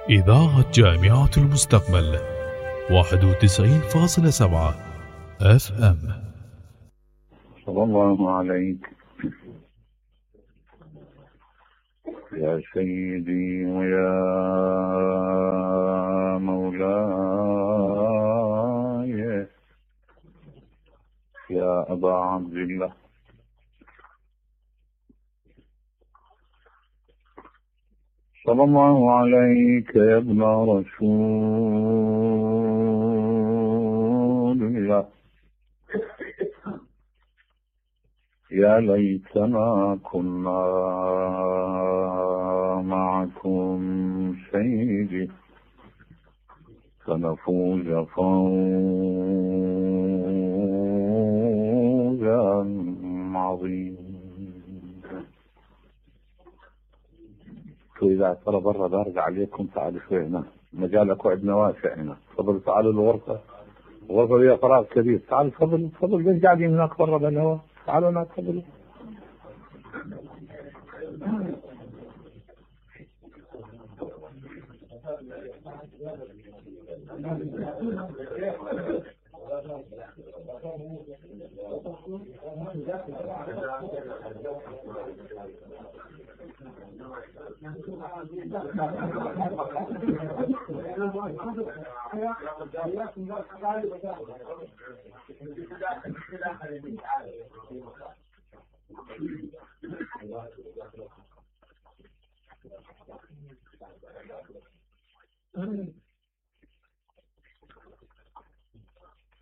إذاعة جامعة المستقبل 91.7 FM. صلى الله عليك يا سيدي ويا مولاي يا أبا عبد الله. صلى الله عليك يا ابن رسول الله. يا ليتنا كنا معكم سيدي فنفوز فوزا عظيما. إذا ترى برا بارد عليكم تعالوا شوي هنا، مجالك وعدنا واسع هنا. تفضلوا تعالوا الغرفة، الغرفة فيها فراغ كبير. تعالوا تفضلوا تفضلوا، ليش قاعدين هناك برا بالهواء؟ تعالوا هناك تفضلوا.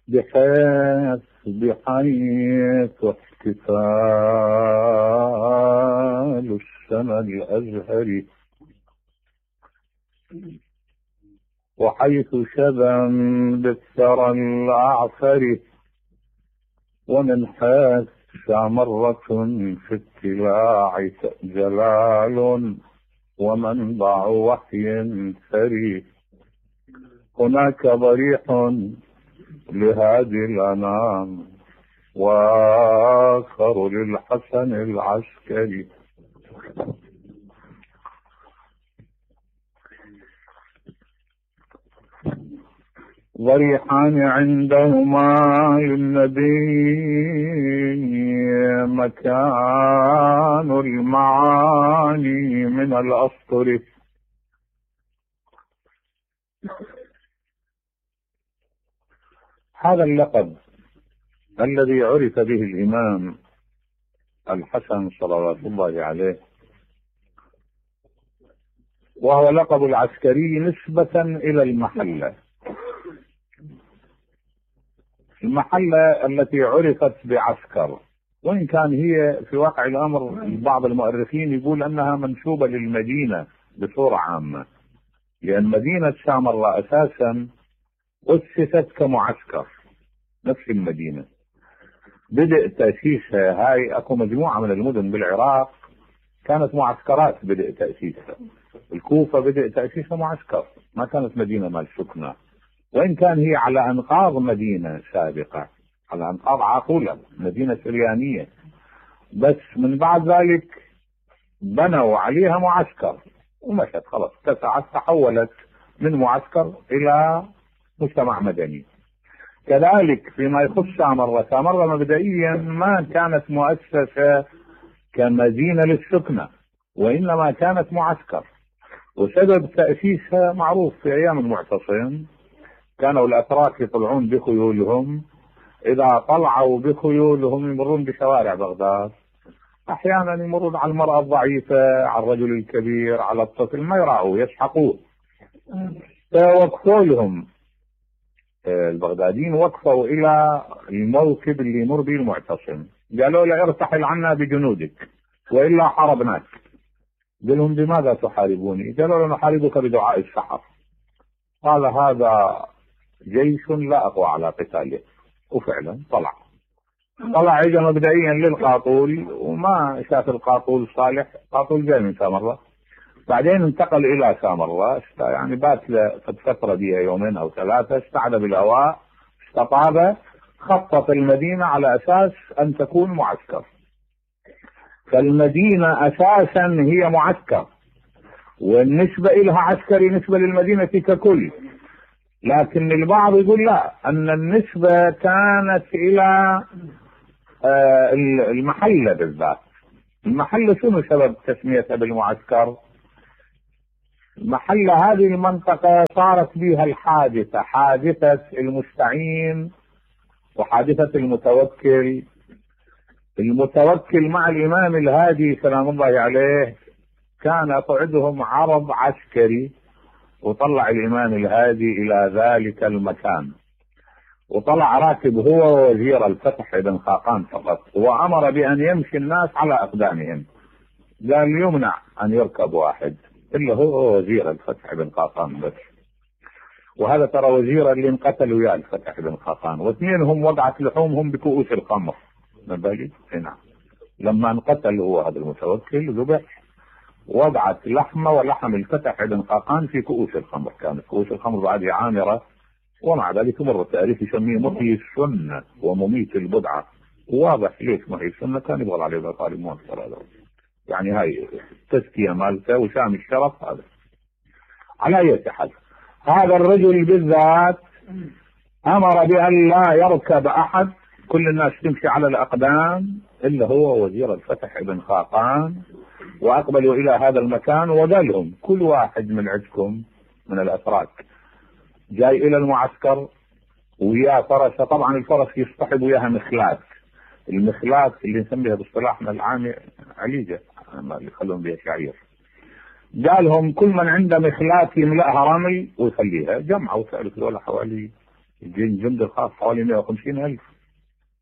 بحيث احتفال السنة الأزهري وحيث شبا بالثرى الأعفر ومن حيث مرة في اتلاع جلال ومنبع وحي ثري هناك ضريح لهادي الأنام وآخر للحسن العسكري. ضريحان عندهما للنبي مكان المعاني من الأسطر. هذا اللقب الذي عرف به الإمام الحسن صلوات الله عليه وهو لقب العسكري نسبة إلى المحلة التي عرفت بعسكر، وإن كان هي في واقع الأمر بعض المؤرخين يقول أنها منسوبة للمدينة بصورة عامة، لأن مدينة سامراء أساسا أسست كمعسكر نفس المدينة. بدأ تأسيسها، هاي أكو مجموعة من المدن بالعراق كانت معسكرات بدأ تأسيسها. الكوفة بدأ تأسيسها معسكر، ما كانت مدينة مال سكنة، وإن كان هي على أنقاض مدينة سابقة، على أنقاض عاقولة مدينة سريانية، بس من بعد ذلك بنوا عليها معسكر ومشت خلاص اتسعت، تحولت من معسكر إلى مجتمع مدني. كذلك فيما يخص سامراء مبدئيا ما كانت مؤسسة كمدينة للسكنة، وإنما كانت معسكر. وسبب تأسيسها معروف، في أيام المعتصم كانوا الأتراك يطلعون بخيولهم، إذا طلعوا بخيولهم يمرون بشوارع بغداد، أحيانا يمرون على المرأة الضعيفة، على الرجل الكبير، على الطفل، ما يراعوا يسحقوه. فوقفوا لهم البغداديين، وقفوا إلى الموكب اللي يمر به المعتصم، قالوا له ارتحل عنا بجنودك وإلا حاربناك. قال لهم بماذا تحاربوني؟ قالوا له نحاربك بدعاء السحر. قال هذا جيش لا أقوى على قتاله. وفعلا طلع اجى مبدئيا للقاطول وما شاف القاطول صالح، قاطول جاي من سامراء، بعدين انتقل الى سامراء، يعني بات فترة بها يومين او ثلاثة، استعد بالهواء، استطاب، خطط المدينة على اساس ان تكون معسكر. فالمدينة اساسا هي معسكر، والنسبة إلها عسكري نسبة للمدينة ككل. لكن البعض يقول لا، أن النسبة كانت إلى المحلة بالذات. المحلة شنو سبب تسميتها بالمعسكر؟ المحلة هذه المنطقة صارت بها الحادثة، حادثة المستعين وحادثة المتوكل. المتوكل مع الإمام الهادي سلام الله عليه كان قعدهم عرض عسكري، وطلع الإمام الهادي إلى ذلك المكان، وطلع راكب هو ووزير الفتح بن خاقان فقط، وأمر بأن يمشي الناس على أقدامهم. قال يمنع أن يركب واحد إلا هو وزير الفتح بن خاقان بس. وهذا ترى وزير اللي انقتل ويا الفتح بن خاقان، واثنينهم وضعت لحومهم بكؤوس الخمر. نبالي نعم، لما انقتل هو هذا المتوكل ذبح، وضعت لحمه ولحم الفتح بن خاقان في كؤوس الخمر. كانت كؤوس الخمر بعدها عامره، ومع ذلك مر التاريخ يسميه محيي السنه ومميت البدعه. واضح ليش محيي السنه، كان يبغى عليه ابن طالب مؤثر هذا، يعني هاي تزكيه مالته وسام الشرف هذا. على اي حال هذا الرجل بالذات امر بان لا يركب احد، كل الناس تمشي على الاقدام الا هو وزير الفتح بن خاقان. واقبلوا الى هذا المكان وقال لهم كل واحد من عندكم من الاتراك جاي الى المعسكر وياه فرسه. طبعا الفرس يصطحب وياها مخلات، المخلات اللي نسميها باصطلاحنا العامي عليجه اللي يخلون بها شعير. قالهم كل من عنده مخلات يملأها رمل ويخليها. جمعوا تعرف ذولا حوالي الجند الخاص حوالي 150,000،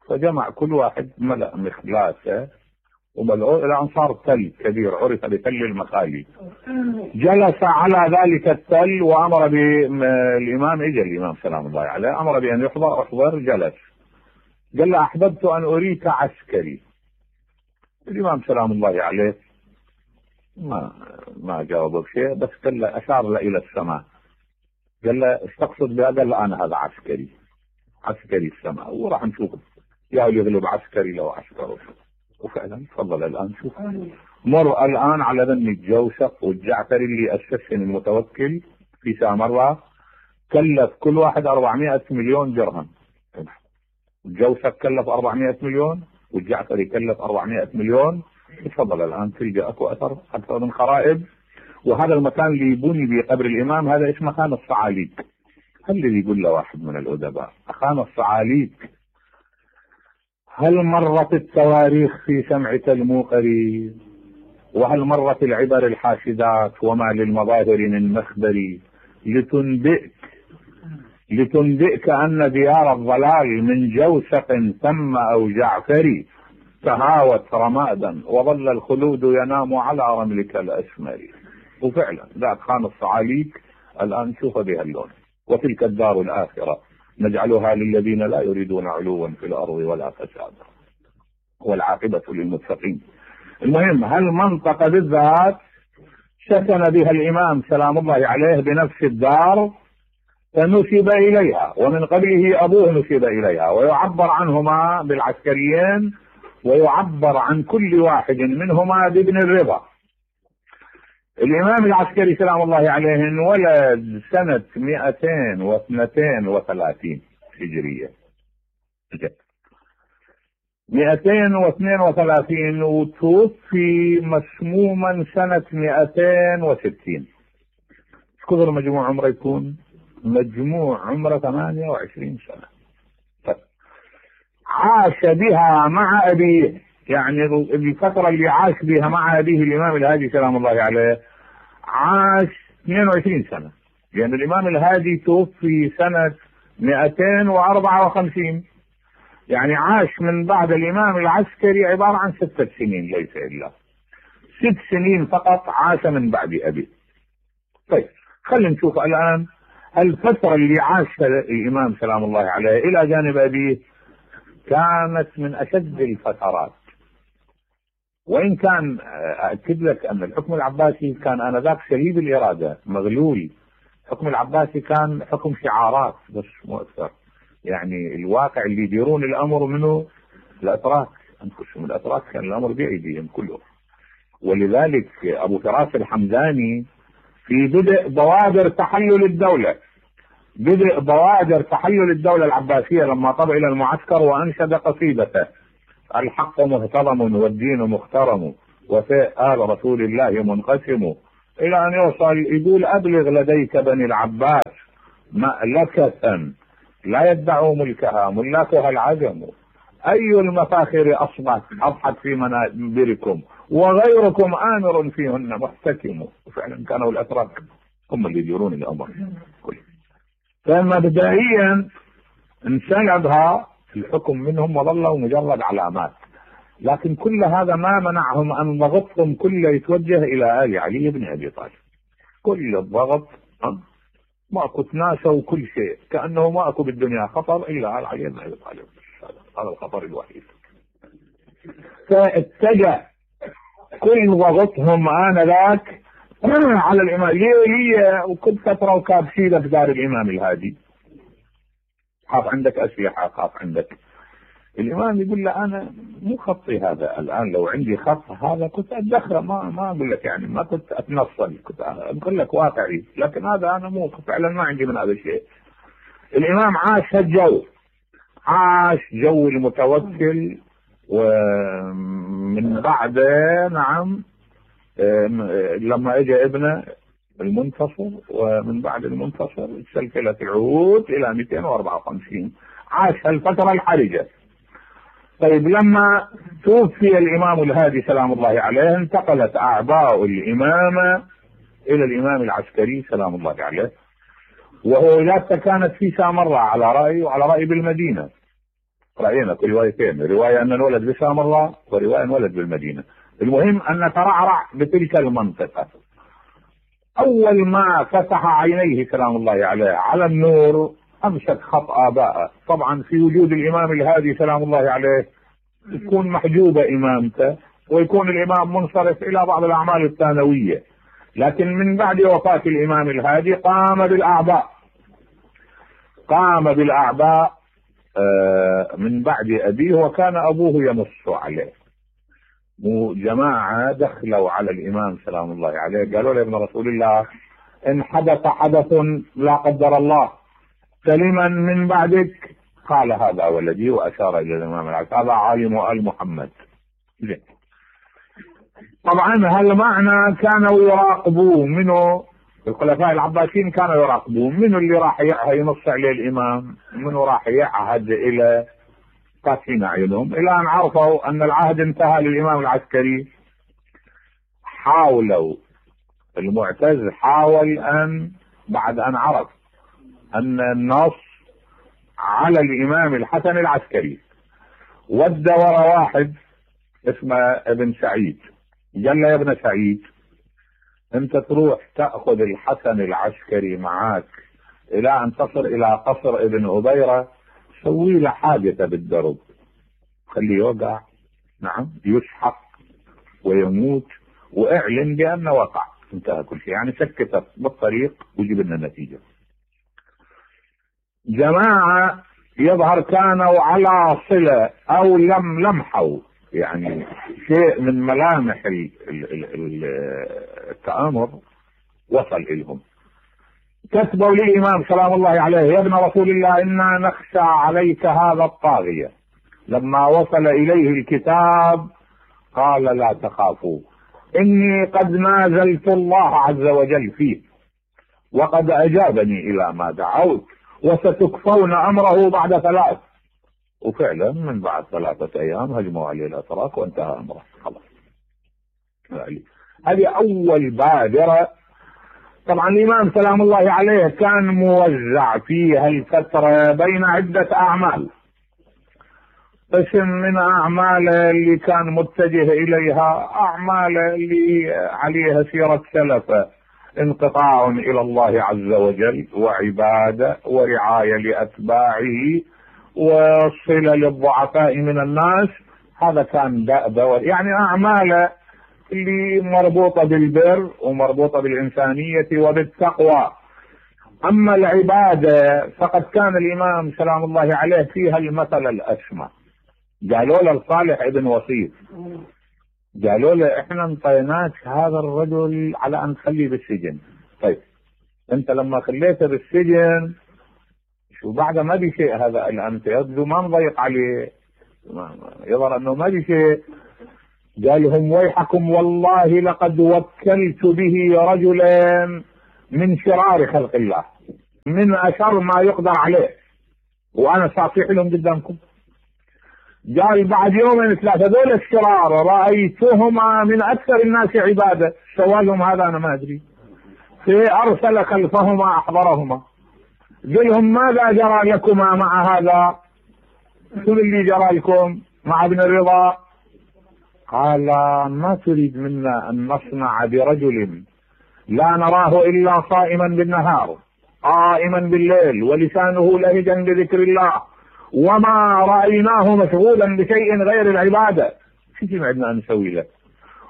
فجمع كل واحد ملأ مخلاته وملأوه إلى أن صار تل كبير عرف بتل المخالي. جلس على ذلك التل وأمر بالإمام، إجا الإمام سلام الله عليه أمر بأن يحضر. أحضر، جلس، قال له أحببت أن أريك عسكري. الإمام سلام الله عليه ما جاوبه بشيء، بس قال له أشار له إلى السماء، قال له ايش تقصد بها؟ قال له أنا هذا عسكري، عسكري السماء، وراح نشوف يا يغلب عسكري لو عسكره. وفعلا تفضل الآن شوف، مر الآن على ذن الجوشق والجعفري اللي أسسهم المتوكل في سامراء، كلف كل واحد 400 مليون درهم. الجوشق كلف 400 مليون والجعفري كلف 400 مليون. تفضل الآن تلقى أكو أثر أكثر من خرائب. وهذا المكان اللي يبني به قبر الإمام هذا اسمه خان الصعاليك. هل اللي يقول له واحد من الأدباء خان الصعاليك، هل مرت التواريخ في سمعك الموقري؟ وهل مرت العبر الحاشدات وما للمظاهر من مخبري؟ لتنبئك أن ديار الضلال من جوسق ثم أو جعفري تهاوت رمادا وظل الخلود ينام على رملك الأسمر. وفعلا ذاك خان الصعاليك الآن شوف بها اللون. وتلك الدار الآخرة نجعلها للذين لا يريدون علوا في الأرض ولا فسادا والعاقبة للمتقين. المهم هالمنطقة بالذات سكن بها الإمام سلام الله عليه بنفس الدار، فنسب إليها، ومن قبله أبوه نسب إليها، ويعبر عنهما بالعسكريين، ويعبر عن كل واحد منهما بابن الرضا. الإمام العسكري سلام الله عليه انولد سنة 232 هجرية، 232، وتوفي مسموما سنة 260. كثر مجموع عمره يكون؟ مجموع عمره 28 سنة. عاش بها مع أبيه، يعني الفترة اللي عاش بها مع أبيه الإمام الهادي سلام الله عليه عاش 22 سنة، لأن الإمام الهادي توفي سنة 254، يعني عاش من بعد الإمام العسكري عبارة عن 6 سنين، ليس إلا 6 سنين فقط عاش من بعد أبيه. طيب خلينا نشوف الآن الفترة اللي عاشها الإمام سلام الله عليه إلى جانب أبيه كانت من أشد الفترات. وإن كان أكد لك أن الحكم العباسي كان آنذاك شديد الإرادة مغلول. الحكم العباسي كان حكم شعارات بس مؤثر، يعني الواقع اللي يديرون الأمر منه الأتراك أنفسهم. الأتراك كان الأمر بأيديهم كله. ولذلك أبو فراس الحمداني في بدء بوادر تحلل الدولة، بدء بوادر تحلل الدولة العباسية لما طلع إلى المعسكر وأنشد قصيدته: الحق مهترم والدين مخترم وفاء آل رسول الله منقسم، إلى أن يوصل يقول: أبلغ لديك بني العباس مألكة لا يدعوا ملكها ملاكها العجم، أي المفاخر أضحت في منابركم وغيركم آمر فيهن محتكم. وفعلا كانوا الأتراك هم اللي يديرون الأمر. فمبدئيا انسلبها الحكم منهم وظلوا مجرد علامات، لكن كل هذا ما منعهم أن ضغطهم كله يتوجه إلى آل علي بن أبي طالب. كل الضغط ماكو تناسوا كل شيء، كأنه ماكو بالدنيا خطر إلا آل علي بن أبي طالب، هذا الخطر الوحيد. فاتجه كل ضغطهم آنذاك على الإمام. هي وكل فترة وكابشيلة في دار الإمام الهادي، خاف عندك أسلحة، خاف عندك. الإمام يقول له: أنا مو خطي هذا الآن، لو عندي خط هذا كنت أتدخل، ما أقول لك يعني ما كنت أتنصل، كنت أقول لك واقعي، لكن هذا أنا مو فعلا ما عندي من هذا الشيء. الإمام عاش هالجو، عاش جو المتوكل. ومن بعده نعم لما اجى ابنه المنتصر، ومن بعد المنتصر تسلسلت العهود الى 254، عاش هالفترة الحرجة. طيب لما توفي الامام الهادي سلام الله عليه، انتقلت اعباء الامامة الى الامام العسكري سلام الله عليه، وولادته كانت في سامراء على رأي، وعلى رأي بالمدينة. رأينا في روايتين، رواية أن انولد بسامراء ورواية انولد بالمدينة. المهم أن ترعرع بتلك المنطقة. أول ما فتح عينيه سلام الله عليه على النور أمسك خط آبائه. طبعا في وجود الإمام الهادي سلام الله عليه تكون محجوبة إمامته، ويكون الإمام منصرف إلى بعض الأعمال الثانوية، لكن من بعد وفاة الإمام الهادي قام بالأعباء من بعد أبيه، وكان أبوه ينص عليه. جماعة دخلوا على الإمام سلام الله عليه قالوا له: ابن رسول الله، إن حدث حدث لا قدر الله سلما من بعدك، قال: هذا ولدي، وأشار إلى الإمام العسكري: هذا عالم آل محمد. طبعا هالمعنى كانوا يراقبوه منه، الخلفاء العباسيين كانوا يراقبوه منه اللي راح ينص عليه الإمام، منه راح يعهد إلى فاتحين أعينهم، إلى أن عرفوا أن العهد انتهى للإمام العسكري. حاولوا، المعتز حاول أن بعد أن عرف أن النص على الإمام الحسن العسكري، ودى ورا واحد اسمه ابن سعيد، قال له: يا ابن سعيد، انت تروح تأخذ الحسن العسكري معاك الى ان تصل الى قصر ابن أبيرة، سوي له حاجته بالدرب، خليه يوقع، نعم، يسحق ويموت، واعلن بانه وقع، انتهى كل شيء، يعني سكته بالطريق وجيب لنا نتيجة. جماعة يظهر كانوا على صلة او لمحوا يعني شيء من ملامح التآمر وصل إلهم. كتبوا للإمام سلام الله عليه: يا ابن رسول الله، إنا نخشى عليك هذا الطاغية. لما وصل إليه الكتاب قال: لا تخافوا، إني قد نازلت الله عز وجل فيه، وقد أجابني إلى ما دعوت، وستكفون أمره بعد 3. وفعلا من بعد 3 أيام هجموا عليه الأتراك وانتهى أمره، خلاص. هذه أول بادرة. طبعا الإمام سلام الله عليه كان موزع في هالفترة بين عدة أعمال. قسم من أعماله اللي كان متجه إليها أعمال اللي عليها سيرة سلفه: انقطاع إلى الله عز وجل، وعبادة، ورعاية لأتباعه، وصلة للضعفاء من الناس. هذا كان دأب، يعني أعماله اللي مربوطة بالبر ومربوطة بالإنسانية وبالتقوى. أما العبادة فقد كان الإمام سلام الله عليه فيها المثل الأسمى. قالوا له لصالح ابن وصيف، قالوا له: احنا انطيناك هذا الرجل على ان تخليه بالسجن، طيب انت لما خليته بالسجن شو بعد ما بي شيء هذا الان، انت يبدو ما مضيق عليه، يظهر انه ما بي شيء. قال لهم ويحكم والله لقد وكلت به رجلا من شرار خلق الله، من اشر ما يقدر عليه، وانا صافح لهم قدامكم. قال بعد يومين ثلاثه هذول الشرار رايتهما من اكثر الناس عباده، سوالهم هذا انا ما ادري، فارسل خلفهما احضرهما قال لهم ماذا جرى لكما مع هذا؟ شو اللي جرى لكم مع ابن الرضا؟ قال ما تريد منا ان نصنع برجل لا نراه الا صائما بالنهار قائما بالليل ولسانه لهجا بذكر الله وما رايناه مشغولا بشيء غير العباده، شو عندنا نسوي له؟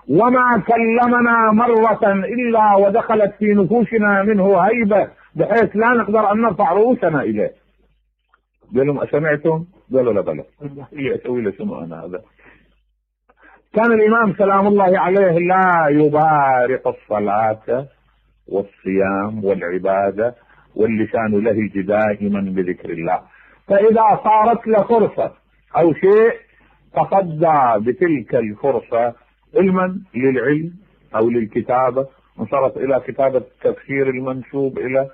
وما كلمنا مره الا ودخلت في نفوسنا منه هيبه بحيث لا نقدر ان نرفع رؤوسنا اليه. قال لهم اسمعتم؟ قالوا لا بلى. اسوي له شنو انا هذا؟ كان الامام سلام الله عليه لا يبارق الصلاه والصيام والعباده واللسان لهج دائما بذكر الله، فاذا صارت له فرصه او شيء تصدى بتلك الفرصه علما للعلم او للكتابه، انصرف الى كتابه تفسير المنسوب اليه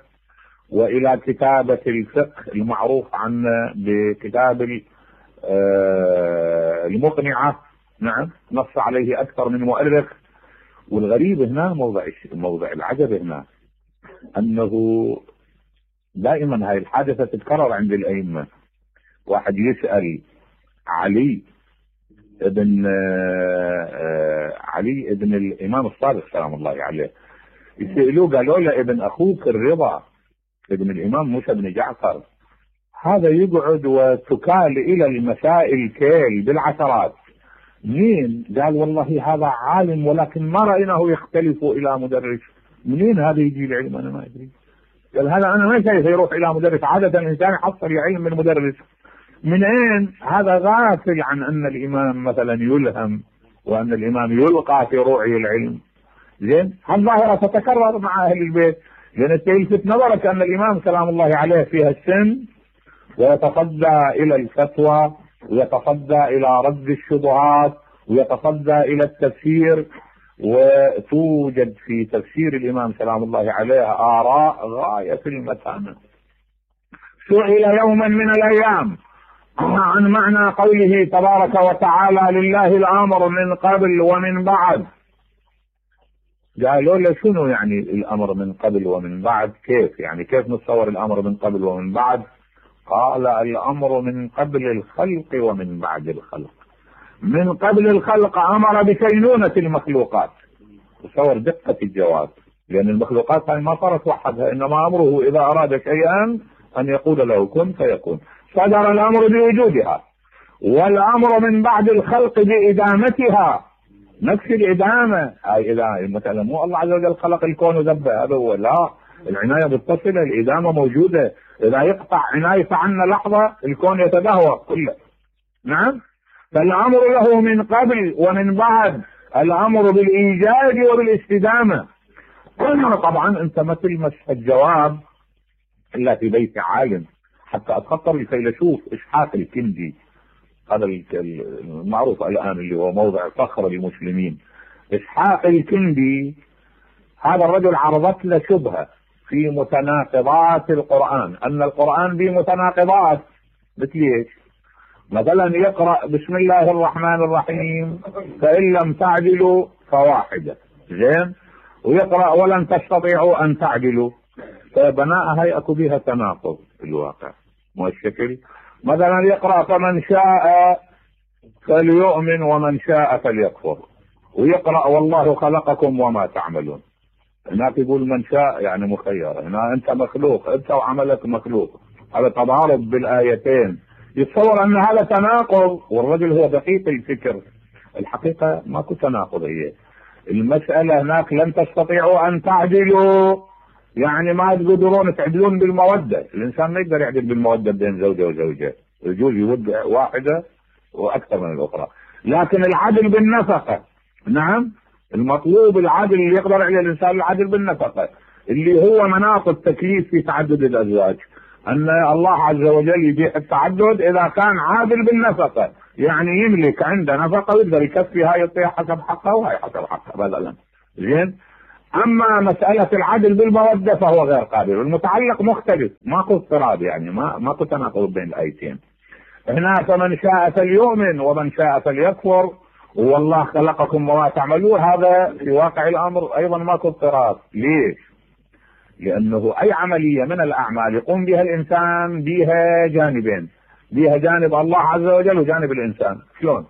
والى كتابه الفقه المعروف عنه بكتاب المقنعه. نعم، نص عليه اكثر من مؤرخ. والغريب هنا موضع العجب هنا انه دائما هاي الحادثه تتكرر عند الائمه. واحد يسال علي ابن الامام الصادق سلام الله عليه، يسالوه قالوا له ابن اخوك الرضا ابن الامام موسى بن جعفر هذا يقعد وتكال الى المسائل كيل بالعشرات، مين؟ قال والله هذا عالم ولكن ما رايناه يختلف الى مدرس. منين هذا يجي العلم؟ انا ما ادري. قال هذا انا ما شايف يروح الى مدرس، عاده الانسان يحصل علم من مدرس. من اين؟ هذا غافل عن ان الامام مثلا يلهم وان الامام يلقى في روعي العلم. زين، هالظاهره تتكرر مع اهل البيت، لان تلفت نظرك ان الامام سلام الله عليه فيها السن ويتصدى الى الفتوى ويتصدى الى رد الشبهات ويتصدى الى التفسير، وتوجد في تفسير الامام سلام الله عليه اراء غايه في المتانه. سئل يوما من الايام عن معنى قوله تبارك وتعالى لله الامر من قبل ومن بعد. قالوا له شنو يعني الامر من قبل ومن بعد؟ كيف يعني؟ كيف نتصور الامر من قبل ومن بعد؟ قال الامر من قبل الخلق ومن بعد الخلق. من قبل الخلق امر بكينونة المخلوقات. تصور دقة الجواب، لان المخلوقات هاي ما صارت وحدها، انما امره اذا اراد شيئا ان يقول له كن فيكون. صدر الامر بوجودها، والامر من بعد الخلق بادامتها، نفس الادامه. هاي اذا مثلا مو الله عز وجل خلق الكون وذبه، هذا هو، لا، العنايه متصله، الادامه موجوده. اذا يقطع عنايته عنا لحظه الكون يتدهور كله. نعم، فالامر له من قبل ومن بعد، الامر بالايجاد وبالاستدامه. طبعا انت ما تلمس الجواب الا في بيت عالم، حتى اتخطر الفيلسوف اسحاق الكندي، هذا المعروف الان اللي هو موضع فخر المسلمين. اسحاق الكندي هذا الرجل عرضت له شبهه في متناقضات القران، ان القران به متناقضات. مثل ايش؟ مثلا يقرا بسم الله الرحمن الرحيم فان لم تعدلوا فواحده، زين، ويقرا ولن تستطيعوا ان تعدلوا، فبناء هي اكو بها تناقض في الواقع، مو الشكل. مثلا يقرا فمن شاء فليؤمن ومن شاء فليكفر، ويقرا والله خلقكم وما تعملون. هناك يقول من شاء يعني مخير، هنا انت مخلوق، انت وعملك مخلوق. هذا تضارب بالايتين، يتصور ان هذا تناقض، والرجل هو دقيق الفكر. الحقيقه ماكو تناقض، هي المساله هناك لن تستطيعوا ان تعدلوا، يعني ما تقدرون تعدلون بالموده. الانسان ما يقدر يعدل بالموده بين زوجه وزوجه، يجوز يود واحده واكثر من الاخرى، لكن العدل بالنفقه، نعم، المطلوب العدل اللي يقدر عليه الانسان العدل بالنفقه. اللي هو مناط التكليف في تعدد الازواج، ان الله عز وجل يبيح التعدد اذا كان عادل بالنفقه، يعني يملك عنده نفقه ويقدر يكفي هاي يعطيها حسب حقها وهي حسب حقها بدلا. زين. اما مساله العدل بالموده فهو غير قابل، والمتعلق مختلف، ماكو اضطراب، يعني ماكو تناقض بين الايتين. هنا فمن شاء فليؤمن ومن شاء فليكفر، والله خلقكم وما تعملون، هذا في واقع الامر ايضا ماكو اضطراب. ليش؟ لانه اي عمليه من الاعمال يقوم بها الانسان بها جانبين، بها جانب الله عز وجل وجانب الانسان. شلون؟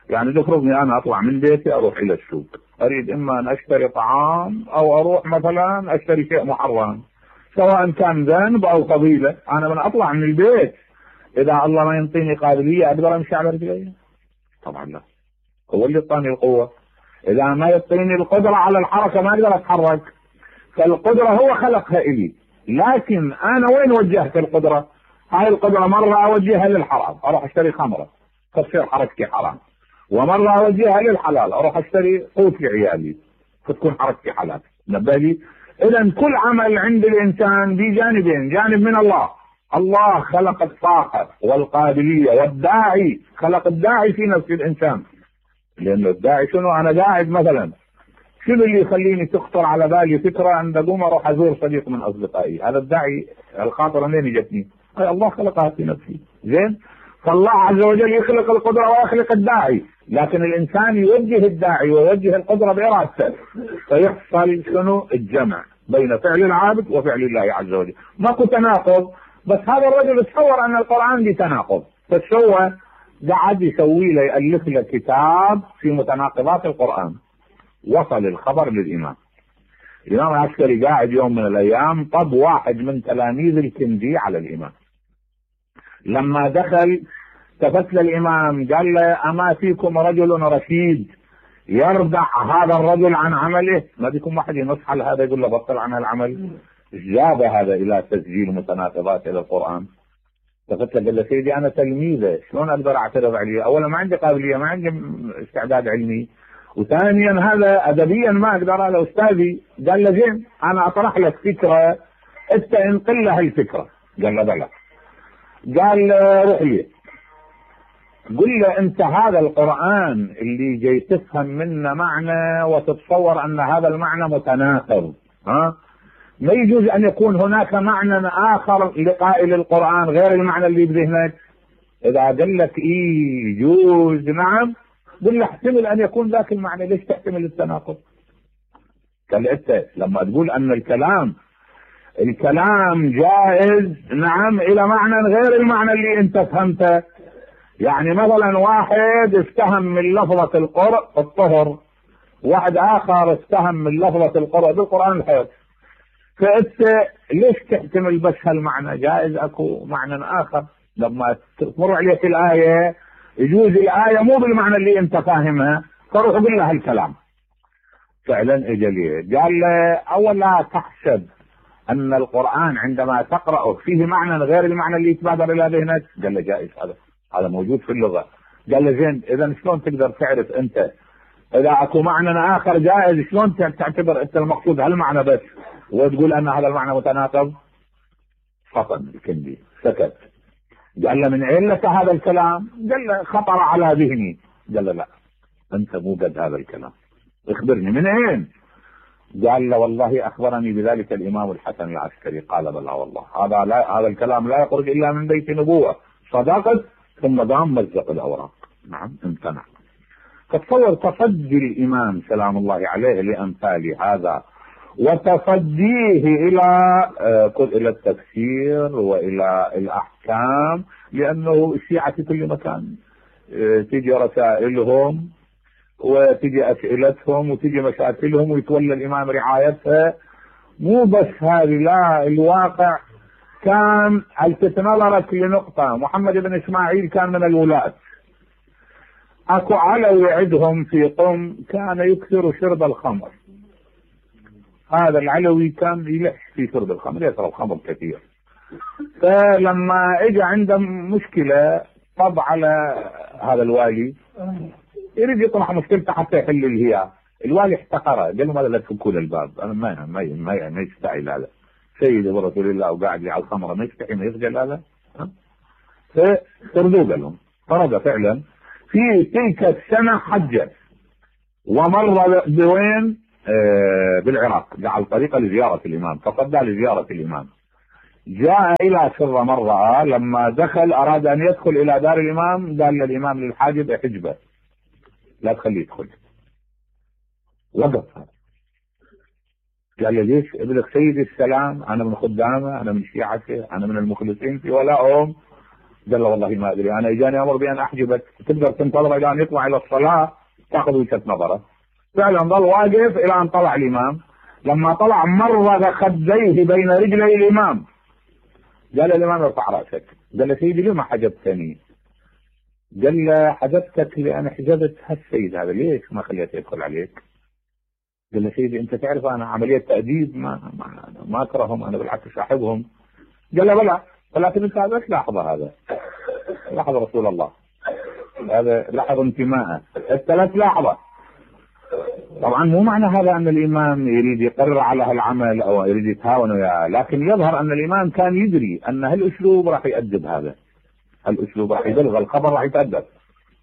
يعني تفرضني انا اطلع من بيتي اروح الى السوق، اريد اما ان اشتري طعام او اروح مثلا اشتري شيء محرم، سواء كان ذنب او فضيله. انا من اطلع من البيت اذا الله ما ينطيني قابليه اقدر امشي على رجلي؟ طبعا لا، هو اللي يعطيني القوه. اذا ما يعطيني القدره على الحركه ما اقدر اتحرك. فالقدره هو خلقها الي، لكن انا وين وجهت القدره؟ هاي القدره مره اوجهها للحرام، اروح اشتري خمره تصير حركتي حرام، ومره اوجهها للحلال، اروح اشتري قوت لعيالي فتكون حركتي حلال. نبالي. اذا كل عمل عند الانسان بجانبين، جانب من الله، الله خلق الطاقه والقابليه، والداعي خلق الداعي في نفس الانسان. لانه الداعي شنو؟ انا قاعد مثلا، شنو اللي يخليني تخطر على بالي فكره ان اقوم اروح ازور صديق من اصدقائي؟ هذا الداعي، الخاطره منين جتني؟ الله خلقها في نفسي. زين. فالله عز وجل يخلق القدره ويخلق الداعي، لكن الانسان يوجه الداعي ويوجه القدره بارادته، فيحصل شنو؟ الجمع بين فعل العابد وفعل الله عز وجل. ماكو تناقض. بس هذا الرجل تصور ان القران دي تناقض، فسوى قعد يسوي له، يالف له كتاب في متناقضات القران. وصل الخبر للامام. الامام العسكري قاعد يوم من الايام، طب واحد من تلاميذ الكندي على الامام. لما دخل التفت للامام قال له: اما فيكم رجل رشيد يردع هذا الرجل عن عمله؟ ما بيكم واحد ينصح على هذا يقول له بطل عن العمل؟ جاب هذا الى تسجيل متناقضات الى القران. التفت له قال له: سيدي انا تلميذه، شلون اقدر اعترض عليه؟ اولا ما عندي قابليه، ما عندي استعداد علمي، وثانيا هذا ادبيا ما اقدر، هذا استاذي. قال له: زين، انا اطرح لك فكره انت انقل لها الفكره. قال له: بلى. قال: روح لي قل له انت هذا القرآن اللي جاي تفهم منه معنى وتتصور ان هذا المعنى متناقض، ما يجوز ان يكون هناك معنى اخر لقائل القرآن غير المعنى اللي بذهنك؟ اذا قال لك ايه يجوز نعم، قل له احتمل ان يكون ذاك المعنى، ليش تحتمل التناقض؟ قال انت لما تقول ان الكلام جائز نعم الى معنى غير المعنى اللي انت فهمته، يعني مثلا واحد استهم من لفظة الطهر، واحد اخر استهم من لفظة القرء بالقرآن الحيض، فانت ليش تحتمل بس هالمعنى؟ جائز اكو معنى اخر. لما تمر عليك الآية يجوز الآية مو بالمعنى اللي انت فاهمها، فروح قل له الكلام. فعلا اجى ليه قال له: اولا تحسب ان القرآن عندما تقرأه فيه معنى غير المعنى اللي يتبادر الى ذهنك؟ قال له: جائز، هذا موجود في اللغة. قال له: زين، اذا شلون تقدر تعرف انت اذا اكو معنى اخر جائز؟ شلون تعتبر انت المقصود هالمعنى بس وتقول ان هذا المعنى متناقض؟ فطن الكندي سكت. قال له: من اين لك هذا الكلام؟ قال له: خطر على ذهني. قال له: لا، انت مو قد هذا الكلام، اخبرني من اين؟ قال له: والله اخبرني بذلك الامام الحسن العسكري. قال: بلى والله، هذا الكلام لا يخرج الا من بيت نبوة. صدقت. ثم دام مزق الاوراق. نعم، امتنع. فتصور تصدي الامام سلام الله عليه لامثال هذا، وتصديه الى التفسير والى الاحكام، لانه الشيعة في كل مكان تيجي رسائلهم وتجي اسئلتهم وتجي مشاكلهم ويتولى الامام رعايتها. مو بس هذه، لا، الواقع كان التفت نظرك لنقطة: محمد بن اسماعيل كان من الولاة، اكو علوي عندهم في قم كان يكثر شرب الخمر. هذا العلوي كان يلح في شرب الخمر، يشرب خمر كثير. فلما اجى عنده مشكلة طب على هذا الوالي، يريد يطرح مشكلته حتى يحل الهياء. الوالي احتقره، قال له ماذا لا تفكوا له الباب؟ انا ما يستحي هذا سيدي ورسول الله وقاعد لي على الخمره، ما يستحي ما يخجل هذا؟ فطردوه قال لهم. طرد فعلا. في تلك السنه حج ومر بوين؟ بالعراق، على الطريقه لزياره الامام، تصدى لزياره الامام. جاء الى سر مرة، لما دخل اراد ان يدخل الى دار الامام، قال للامام للحاجب احجبه لا تخليه يدخل. وقف. قال له ليش؟ يقول لك سيدي السلام، انا من خدامه، انا من شيعته، انا من المخلصين في ولاهم. قال له والله ما ادري، انا اجاني امر بان احجبك، تقدر تنتظر الى ان يطلع الى الصلاه تاخذ وجهه نظره. فعلا ظل واقف الى ان طلع الامام. لما طلع مر خديه بين رجلي الامام. قال الامام ارفع راسك. قال له سيدي لما حجبتني؟ قال له حجبتك لان حجبت هالسيد هذا، ليش ما خليته يدخل عليك؟ قال له سيدي انت تعرف انا عمليه تاديب ما اكرههم، انا بالعكس احبهم. قال له بلى، ولكن انت لا تلاحظ هذا. لاحظ رسول الله هذا، لاحظ انتماءه، انت لا تلاحظه. طبعا مو معنى هذا ان الامام يريد يقرر على هالعمل او يريد يتهاون وياه، لكن يظهر ان الامام كان يدري ان هالاسلوب راح يؤدب هذا، هالاسلوب راح يبلغ الخبر، راح يتأدب.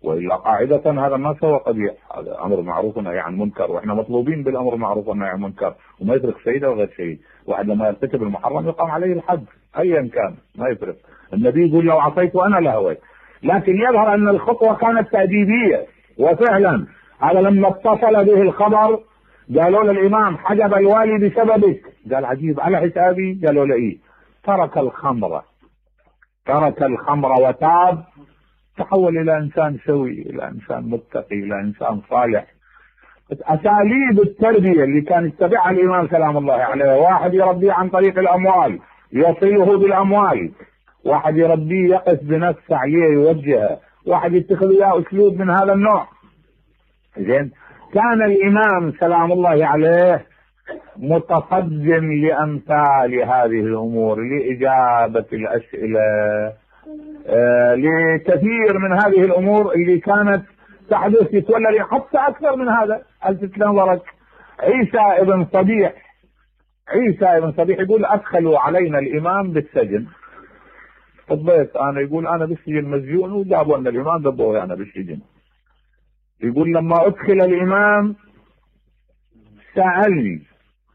والا قاعده هذا ما سوى قبيح، هذا امر معروف ونهي عن منكر، واحنا مطلوبين بالامر المعروف والنهي عن المنكر، وما يترك سيده وغير شيء. واحد لما يرتكب المحرم يقام عليه الحد ايا كان، ما يفرق. النبي يقول لو عصيت وانا لهويت. لكن يظهر ان الخطوه كانت تاديبيه، وفعلا هذا لما اتصل به الخبر قالوا للامام حجب الوالي بسببك. قال عجيب، على حسابي؟ قالوا له ايه. ترك الخمر وتاب، تحول الى انسان سوي، الى انسان متقي، الى انسان صالح. اساليب التربيه اللي كان يتبعها الامام سلام الله عليه، واحد يربيه عن طريق الاموال يصله بالاموال، واحد يربيه يقف بنفسه عليه يوجهه، واحد يتخذ له اسلوب من هذا النوع. زين، كان الامام سلام الله عليه متصدم لامثال هذه الامور، لاجابه الاسئله، لكثير من هذه الامور اللي كانت تحدث يتولى، حتى اكثر من هذا. الفت نظرك عيسى ابن صبيح يقول ادخلوا علينا الامام بالسجن. طبيت انا، يقول انا بالسجن مسجون، وجابوا ان الامام ذبوه انا بالسجن. يقول لما ادخل الامام سالني،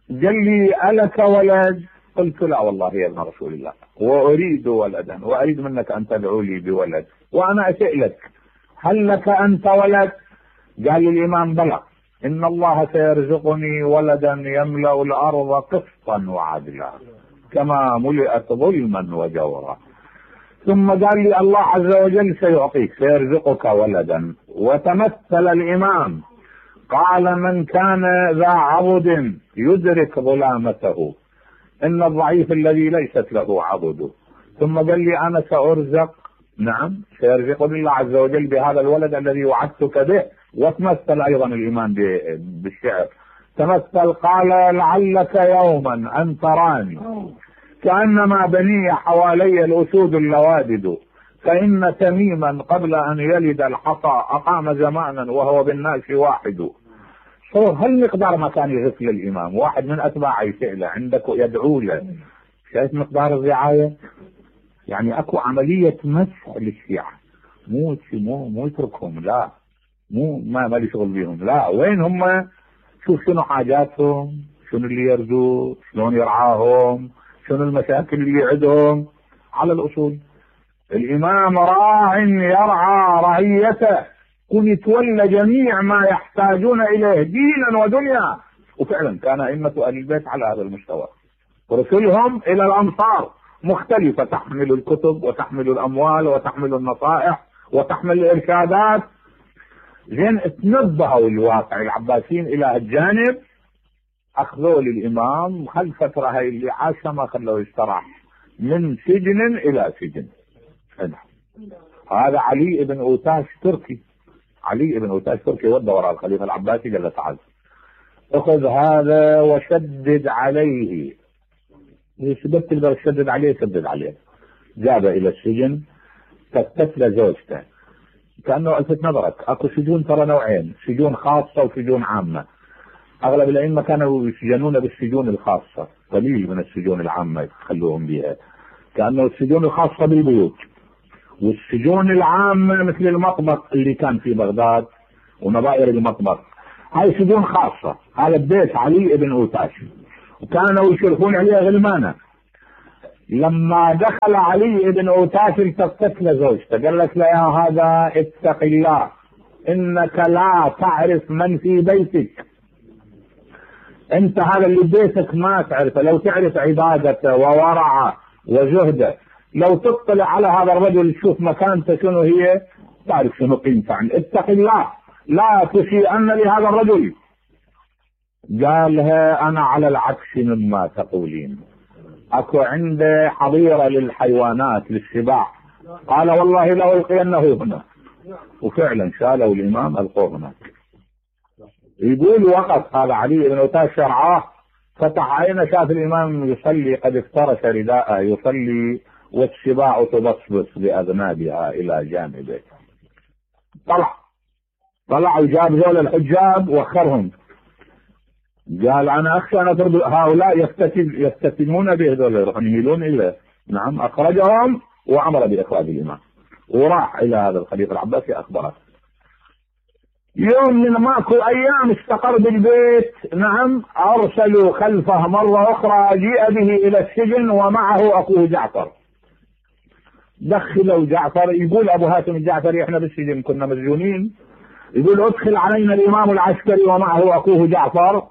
قال لي الك ولد؟ قلت لا والله يا ابن رسول الله، واريد ولدا، واريد منك ان تدعو لي بولد، وانا اسالك هل لك انت ولد؟ قال لي الامام بلى، ان الله سيرزقني ولدا يملا الارض قسطا وعدلا كما ملئت ظلما وجورا. ثم قال لي الله عز وجل سيعطيك، سيرزقك ولدا. وتمثل الامام قال من كان ذا عضد يدرك ظلامته، ان الضعيف الذي ليست له عضد. ثم قال لي انا سارزق، نعم سيرزقني الله عز وجل بهذا الولد الذي وعدتك به. وتمثل ايضا الامام بالشعر، تمثل قال لعلك يوما ان تراني كانما بني حوالي الاسود اللوادد، فان تميما قبل ان يلد الحصى اقام زمانا وهو بالناس واحد. هل مقدار ما كان يغث للامام واحد من اتباعه يسأله عندك يدعو له؟ شايف مقدار الرعايه؟ يعني اكو عمليه مسح للشيعه، مو يتركهم، لا ما لي شغل بيهم، لا وين هم؟ شوف شنو حاجاتهم، شنو اللي يرجوه، شلون يرعاهم، شنو المشاكل اللي عندهم. على الاصول الامام راع يرعى رعيته، كن يتولى جميع ما يحتاجون اليه دينا ودنيا. وفعلا كان ائمه اهل البيت على هذا المستوى، ورسلهم الى الامصار مختلفه، تحمل الكتب وتحمل الاموال وتحمل النصائح وتحمل الارشادات. زين، تنبهوا الواقع العباسيين الى الجانب، اخذوا للامام خل فتره هاي اللي عاشها ما خلوه يستراح، من سجن الى سجن. هذا علي بن اوتاش تركي ودى وراء الخليفه العباسي، قال له تعال اخذ هذا وشدد عليه. شدد تقدر تشدد عليه، شدد عليه. جابه الى السجن، فتت له زوجته. كانه الفت نظرك اكو سجون ترى نوعين، سجون خاصه وسجون عامه. اغلب الائمه كانوا يسجنون بالسجون الخاصه، قليل من السجون العامه يخلوهم بها، كانه السجون الخاصه بالبيوت، والسجون العامه مثل المطبخ اللي كان في بغداد ونظائر المطبخ هاي سجون خاصه. هذا بيت علي بن اوتاش وكانوا يشرفون عليه غلمانه. لما دخل علي بن اوتاش التفت لزوجته قالت له يا هذا اتق الله، انك لا تعرف من في بيتك، انت هذا اللي بيتك ما تعرفه، لو تعرف عبادته وورعه وزهده، لو تطلع على هذا الرجل تشوف مكانته شنو هي، تعرف شنو قيمته. اتق الله لا تسيئن لهذا الرجل. قالها انا على العكس مما تقولين، اكو عنده حظيره للحيوانات للسباع، قال والله لو القينه هنا. وفعلا شالوا الامام القوه هناك. يقول وقت هذا علي بن اوتاش شرعاه، فتح عينه شاف الامام يصلي قد افترش رداءه يصلي والسباع تبصبص باذنابها الى جانبه. طلع وجاب ذول الحجاب واخرهم، قال انا اخشى ان اضرب هؤلاء يفتتنون به، ذول يروحون يميلون اليه. نعم اخرجهم وامر باخراج الامام وراح الى هذا الخليفه العباسي اخبره. يوم من ماكو ايام استقر بالبيت. نعم ارسلوا خلفه مره اخرى، جيء به الى السجن ومعه اخوه جعفر. دخلوا جعفر، يقول ابو هاشم الجعفري احنا بالسجن كنا مسجونين، يقول ادخل علينا الامام العسكري ومعه اخوه جعفر.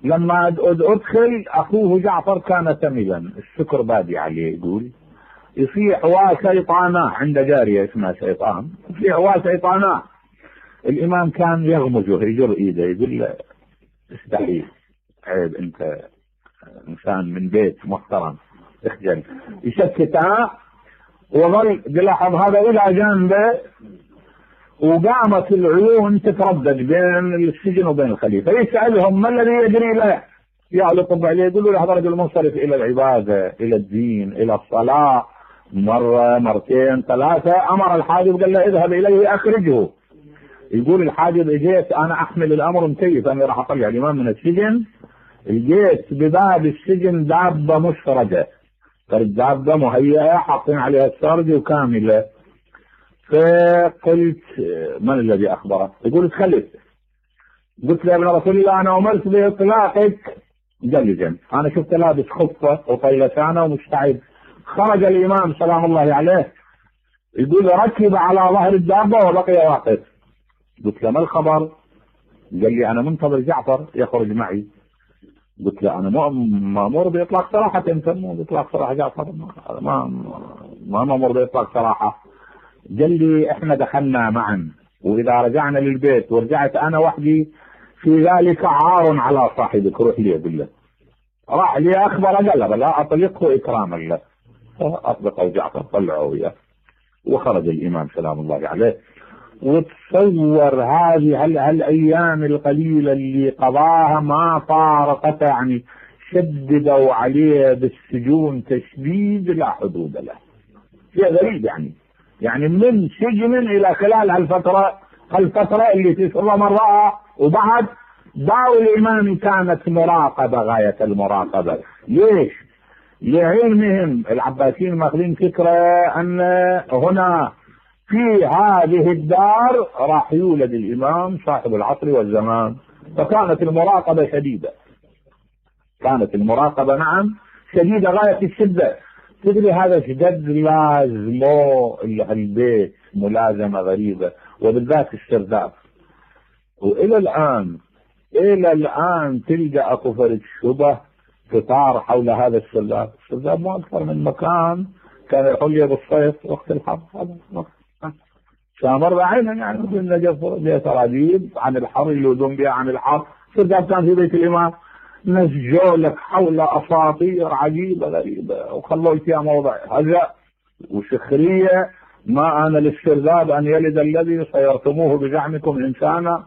لما ادخل اخوه جعفر كان تملا، السكر بادي عليه، يقول يصيح وشيطانا، عند جاريه اسمها شيطان، يصيح وشيطانا. الامام كان يغمزه يجر ايده يقول له استحي، عيب انت انسان من بيت محترم اخجل، يسكتها. وظل يلاحظ هذا الى جانبه، وقامت العيون تتردد بين السجن وبين الخليفه، يسالهم ما الذي يجري له؟ يعلقوا عليه يقولوا له هذا رجل منصرف الى العباده الى الدين الى الصلاه، مره مرتين ثلاثه. امر الحاجب قال له اذهب اليه اخرجه. يقول الحاجب اجيت انا احمل الامر مكيف، انا راح اطلع الامام من السجن، جيت بباب السجن دابه مشرده، الدابه مهيئه حاطين عليها السرج وكامله. فقلت من الذي اخبره؟ يقول تخلف. قلت له يا ابن رسول الله انا امرت باطلاقك جلجا، انا شفت لابس خفه وطيلتانه ومستعد. خرج الامام سلام الله عليه، يقول ركب على ظهر الدابه وبقي واقف. قلت له ما الخبر؟ قال لي انا منتظر جعفر يخرج معي. قلت له انا مامور باطلاق سراحه، انت مو باطلاق سراحه جعفر، ما مامور باطلاق سراحه. قال لي احنا دخلنا معا، واذا رجعنا للبيت ورجعت انا وحدي في ذلك عار على صاحبك، روح لي بالله. راح لي اخبر قال لا اطلقه اكراما له، اطلقه جعفر طلعه وياه وخرج الامام سلام الله عليه. وتصور هذه هالايام القليله اللي قضاها ما فارقت، يعني شددوا عليه بالسجون تشديد لا حدود له. شيء غريب يعني من سجن الى خلال هالفتره اللي تسر مرة. وبعد داو الامام كانت مراقبه غايه المراقبه. ليش؟ لعلمهم العباسيين ماخذين فكره ان هنا في هذه الدار راح يولد الامام صاحب العصر والزمان، فكانت المراقبه شديده، كانت المراقبه نعم شديده غايه الشده. تدري هذا شدد لازمه البيت ملازمه غريبه، وبالذات السرداب. والى الان تلقى اكو فرد شبه تثار حول هذا السرداب. السرداب مو اكثر من مكان كان يحل بالصيف وقت الحر، هذا شامر بعينه يعني مثل نجف بها سراديب عن الحر يلوذون بها عن الحر. السرداب كان في بيت الامام، نسجوا لك حول اساطير عجيبه غريبه وخلوا فيها موضع هزأ وسخريه. ما انا للسرداب ان يلد الذي سيرتموه بزعمكم انسانا.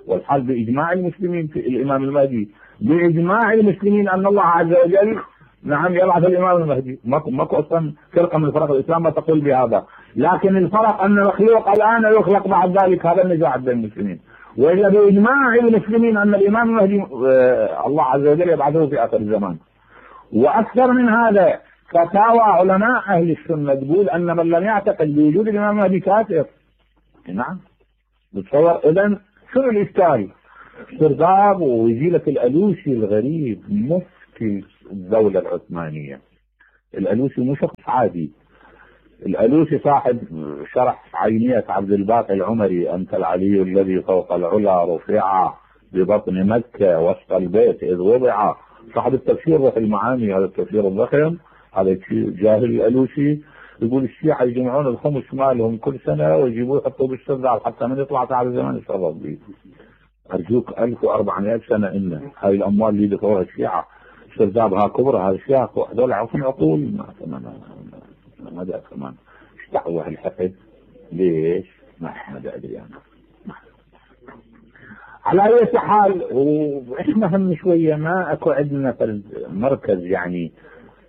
والحال باجماع المسلمين في الامام المهدي، باجماع المسلمين ان الله عز وجل نعم يبعث الامام المهدي. ماكو اصلا فرقه من فرق الاسلام ما تقول بهذا، لكن الفرق ان المخلوق الان يخلق بعد ذلك، هذا النزاع بين المسلمين. وإلا بإجماع المسلمين أن الإمام المهدي الله عز وجل يبعثه في آخر الزمان. وأكثر من هذا فتاوى علماء أهل السنة تقول أن من لم يعتقد بوجود الإمام المهدي كافر. نعم بتصور إذن شنو الإشكال؟ سرداب ووزيلة الألوسي الغريب مفتي الدولة العثمانية. الألوسي مو شخص عادي، الألوسي صاحب شرح عينية عبد الباقي العمري أنت العلي الذي فوق العلا رفع ببطن مكة وسط البيت إذ وضع، صاحب التفسير روح المعاني، هذا التفسير الضخم، هذا جاهل الألوسي. يقول الشيعة يجمعون الخمس مالهم كل سنة ويجيبوه يحطوه بالسرداب حتى من يطلع تعالى زمان يتصرف به. أرجوك 1400 سنة إن هاي الأموال اللي دفعوها الشيعة سردابها كبرى، هذا الشيعة هذول عفوا عقول ما ادري كمان ايش دعوه الحقد ليش؟ ما ادري انا. على اي حال واحنا هم شويه ما اكو عندنا مركز يعني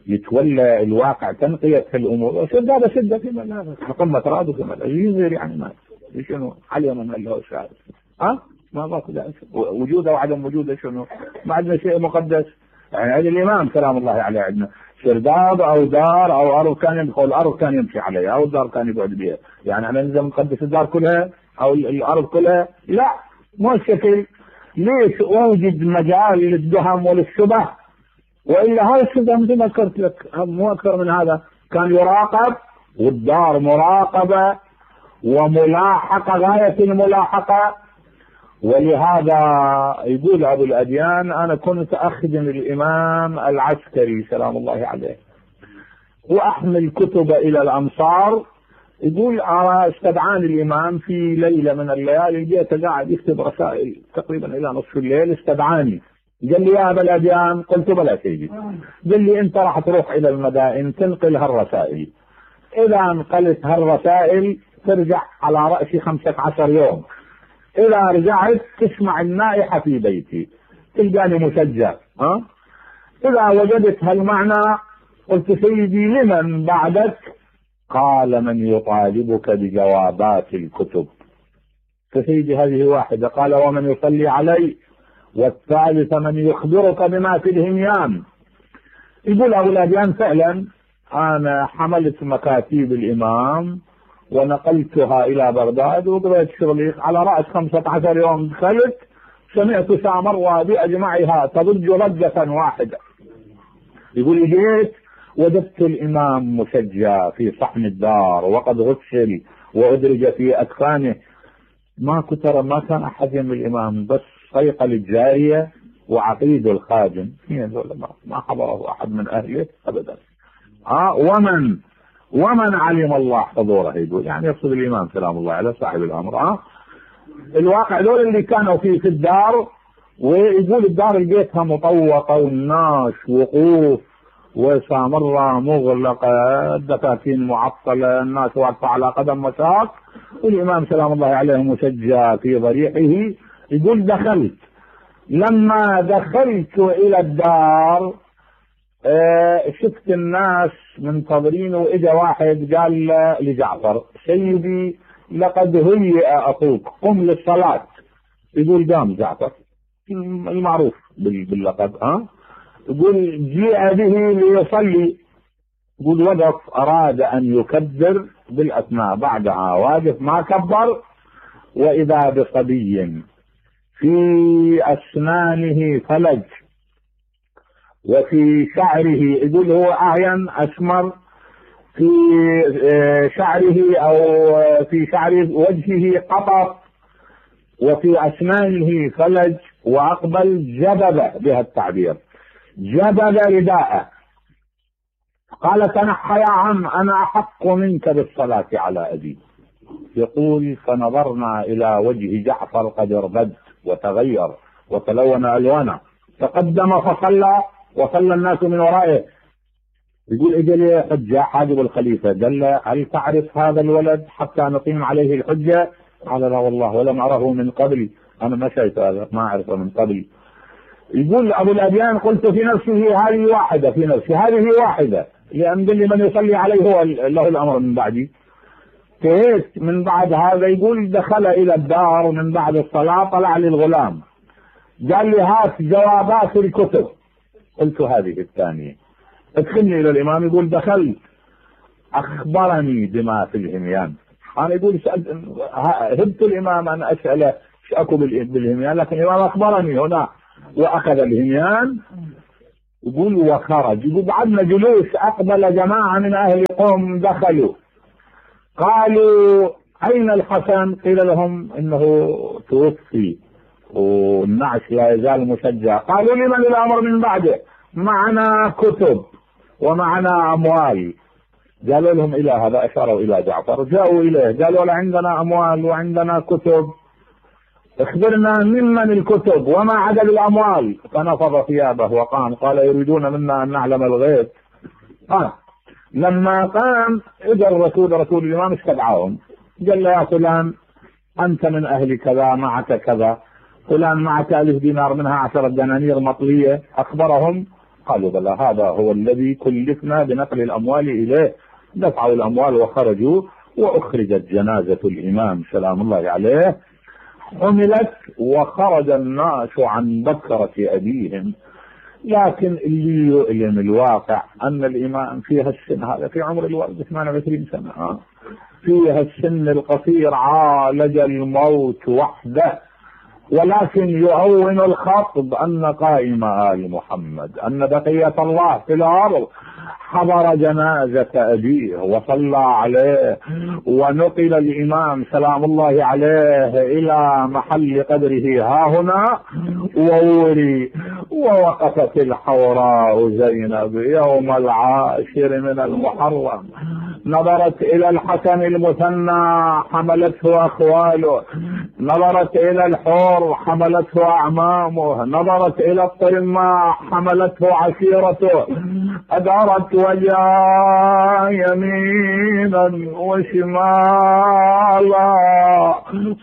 يتولى الواقع تنقيه الامور. سداد سده في ملابس قمه راد في ملابس يصير يعني ما شنو علي من له شاهد ما باكو وجوده وعدم وجوده شنو؟ ما عندنا شيء مقدس يعني. هذا الامام سلام الله عليه عندنا سرداب او دار او ارض كان يدخل، الارض كان يمشي عليها او الدار كان يقعد بها، يعني احنا نلزم نقدس الدار كلها او الارض كلها؟ لا مو الشكل. ليش اوجد مجال للدهم وللشبه؟ والا هاي الشبه مثل ما ذكرت لك مو اكثر من هذا، كان يراقب والدار مراقبه وملاحقه غايه الملاحقه. ولهذا يقول ابو الاديان انا كنت اخدم الامام العسكري سلام الله عليه واحمل كتب الى الامصار. يقول استدعاني الامام في ليله من الليالي، جيت قاعد يكتب رسائل تقريبا الى نصف الليل، استدعاني قال لي يا ابا الاديان، قلت بلى سيدي. قال لي انت راح تروح الى المدائن تنقل هالرسائل، اذا انقلت هالرسائل ترجع على راسي 15 يوم، إذا رجعت تسمع النائحة في بيتي تلقاني مسجل. إذا وجدت هالمعنى قلت سيدي لمن بعدك؟ قال من يطالبك بجوابات الكتب. فسيدي هذه واحدة. قال ومن يصلي علي؟ والثالث من يخبرك بما في الهميان. يقول أبو الأديان فعلا أنا حملت مكاتيب الإمام ونقلتها الى بغداد وقضيت شغلي على رأس 15 يوم. دخلت سمعت سامراء باجمعها تضج ضجة واحدة. يقول جيت وجدت الامام مسجى في صحن الدار وقد غسل وادرج في اكفانه. ما كان احد يم الامام، بس صيقل الجارية وعقيد الخادم، ما حضره احد من اهله ابدا. ومن علم الله حضوره، يقول يعني يقصد الامام سلام الله عليه صاحب الامر. الواقع دول اللي كانوا في الدار، ويقول الدار لقيتها مطوقه والناس وقوف وسامره مغلقه، الدكاكين معطله، الناس واقفه على قدم مساق، والامام سلام الله عليه مسجى في ضريحه. يقول دخلت، لما دخلت الى الدار شفت الناس منتظرين، واجا واحد قال لجعفر سيدي لقد هيئ اخوك قم للصلاة. يقول قام جعفر المعروف باللقب. يقول جيء به ليصلي. يقول وقف اراد ان يكبر بالاثناء، بعدها واقف ما كبر، واذا بصبي في اسنانه فلج وفي شعره، يقول هو اعين اسمر في شعره او في شعر وجهه قطر، وفي اسنانه فلج، واقبل جبب بها التعبير، جبب رداءه. قال تنحى يا عم انا احق منك بالصلاة على ابي. يقول فنظرنا الى وجه جعفر قد اربد وتغير وتلون الوانه، تقدم فصلى وصلى الناس من ورائه. يقول اجى لي حجة حاجب الخليفة، قال له هل تعرف هذا الولد حتى نقيم عليه الحجة؟ قال لا والله ولم أره من قبل، أنا ما شايف هذا، ما أعرفه من قبل. يقول أبو الأديان قلت في نفسه هذه واحدة، في نفسي هذه واحدة، لأن قال لي من يصلي عليه هو له الأمر من بعدي. انتهيت من بعد هذا. يقول دخل الى الدار من بعد الصلاة، طلع لي الغلام قال لي هات جوابات الكتب. قلت هذه الثانية. ادخلني الى الامام. يقول دخلت اخبرني بما في الهميان. انا يقول هبت الامام ان اسأله ايش اكو بالهميان، لكن الامام اخبرني هنا واخذ الهميان. يقول وخرج. يقول بعدنا جلوس اقبل جماعة من اهل قوم دخلوا قالوا اين الحسن؟ قيل لهم انه توفي والنعش لا يزال مسجع. قالوا لمن الامر من بعده؟ معنا كتب ومعنا اموال. قالوا لهم الى هذا، اشاروا الى جعفر. جاءوا اليه قالوا له عندنا اموال وعندنا كتب، اخبرنا ممن الكتب وما عدد الاموال. فنفض ثيابه وقام. قال يريدون منا ان نعلم الغيب. لما قام اجى رسول الامام استدعاهم. قال له يا فلان انت من اهل كذا، معك كذا، فلان معك 1000 دينار منها 10 دنانير مطلية. اخبرهم. قالوا بلى هذا هو الذي كلفنا بنقل الاموال اليه. دفعوا الاموال وخرجوا، واخرجت جنازة الامام سلام الله عليه، حملت وخرج الناس عن بكرة ابيهم. لكن اللي يؤلم الواقع ان الامام فيها السن هذا، في عمر الوالد 28 سنة، فيها السن القصير، عالج الموت وحده. ولكن يهون الخطب ان قائم آل محمد، ان بقية الله في الارض حضر جنازة ابيه وصلى عليه، ونقل الامام سلام الله عليه الى محل قدره هاهنا ووري. ووقفت الحوراء زينب يوم 10 من المحرم، نظرت الى الحسن المثنى حملته اخواله، نظرت الى الحور حملته اعمامه، نظرت الى الطرماء حملته عشيرته، ادارت وجهها يمينا وشمالا،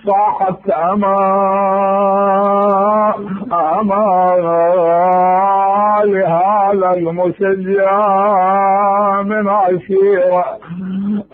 صاحت امان لهذا المشجع من عشيرة